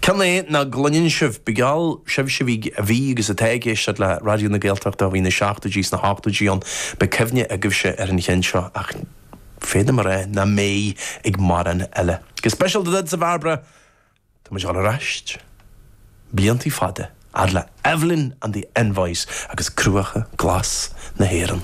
Ceann é nach gcluineann sibh, ba gheall sibhse a bhí agus atá ag éisteacht le Raidió na Gaeltachta ó bhí na seachtóidí is na hochtóidí ann, beidh cuimhne agaibhse ar an cheann seo ach féadaim a rá nach mbeidh ag mórán eile. Go speisialta duitse, a Bhairbre, tá muid ag dul ar ais bliantaí fada, fhad le Evelyn and the Envoys agus Cruacha Glas na hÉireann.